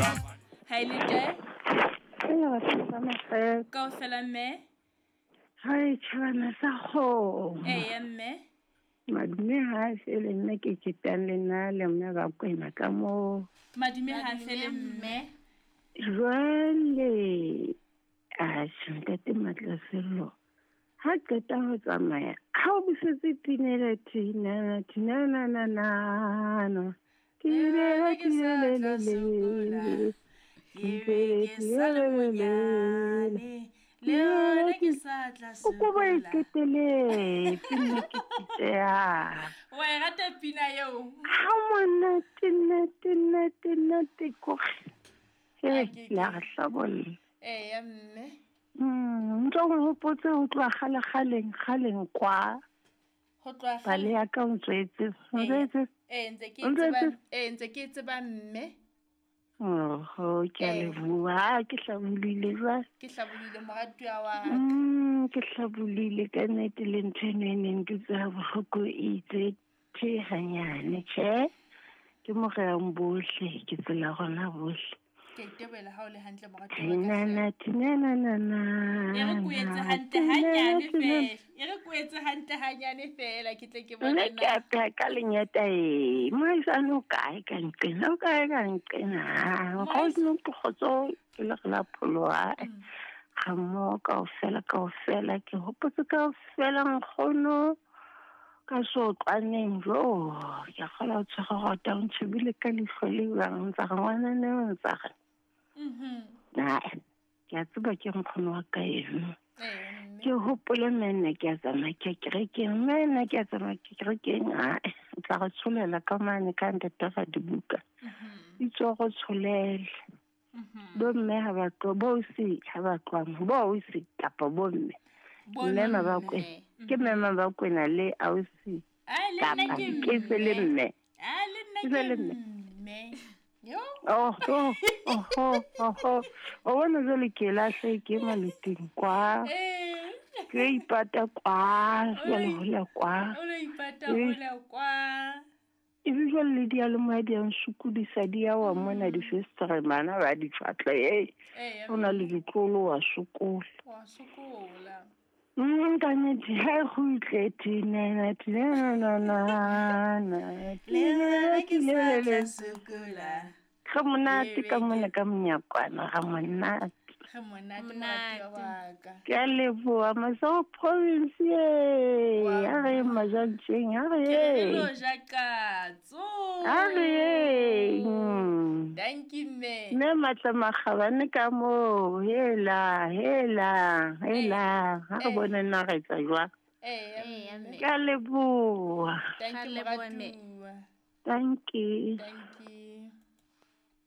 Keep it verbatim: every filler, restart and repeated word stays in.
Ha ile kae? Kaofela mme. Hai tjhabana sa kgomo. Eya mme. Madume ha fele nna ke ketang le nna le mme ba kwena ka moo. Madume ha fele mme. Jwale atjhe ntate Matlasello ha qeta ho tsamaya ha o busetse pinela tinana tinana na na na Ke sa tla sokola, ke be ke sa le monyane, le yona ke sa tla O ko ba sokola. Iqeteletse nna ke pitseha. Wa e rata pina eo? Ha monate nate nate nate kore. A He ke la ke. re hlabolla. Eya mme. Mm, ntho o hopotse ho tloha kgale kgaleng kgaleng kwa. Ho tloha Pale kgale. ya ka o ntswetse. O Ee, ntswetse. ee ntse ke O e tseba, ntswetse. ee ntse ke e tseba mme. Oho, ke a Ee. leboha. Ha ke hlabolile jwale. Ke hlabolile moratuwa wa ka. Mm, ke hlabolile ka nnete le ntho eno e neng ke utlwa bohloko e itse the hanyane. Tjhe, ke mo reyang bohle, ke tsela rona bohle. Ke itebohela ha o le hantle moratuwa wa ka hle. Tinana tinana na na E re ko etse na hantle tinana hanyane tinana. feela. E re ko etse hantle hanyane feela ke tle ke Nna bone ke na. a pheha ka lenyata e. Mohaisane o kae ka nqena, o kae ka nqena. Mohaisane. Nkgono ke kgotso ke le re la pholoha. Mm. Ga mmoho kaofela kaofela ke hopotse kaofela nkgono ka sotlwaneng jo ke a kgolwa o tshwere rota o ntjhebile ka leihlo le jwang ntsa re ngwanana eo ntsa re Mhm. ae ke a tseba ke nkgono wa ka eno. Ee mme. Ke hopole mme nna ke a tsamaya ke ya kerekeng, mme nna ke a tsamaya ke kerekeng ae o tla re tsholela ka mane ka ntate ra dibuka. Mhm. Itse o re tsholele. Mhm. Bo mme ha ba tlo bo ausi ha ba tloha mo, bo ausi kapa bo mme. Bo Mme Mabakwena mme. ke mme Mabakwena le ausi Ai le nna kapa ke ke se le mme. mme. Ai le nna Ke se ke le mme. mme. Yo. Oho, oho, oho. O bona jwale ke lahle ke maloting kwa. Eh. Ke ipata kwa, O jwale lo hole kwa. o lo ipata Eh. hole kwa. Ebe jwale le diyalemoya di a nsokodisa di ya wa mona difestere bana ba di tjhwatle hey. Eya O na le mme. ditlolo wa sokola. Wa sokola. Mm, ka nnete ha e kgutle tinana tinana na na Le yona ke sa tla tinana. sokola. Ga monate Ke ka be mona ke ka monyakwana ga monate. Ga monate moratuwa Monate. wa ka. Ke a leboha Masego province ye. Wa A re bona. majantjeng, a re Ke re re ye. lo ja katso. A re ye. Mm. Dankie mme. Mme Matla Makgabane ka moo, hela, hela, Eh. hela. Ha re Eh. bone na re etsa jwang. Eya Eya mme. mme. Ke a leboha. Thank Ga you leboha mme. moratuwa. Thank you. Thank you.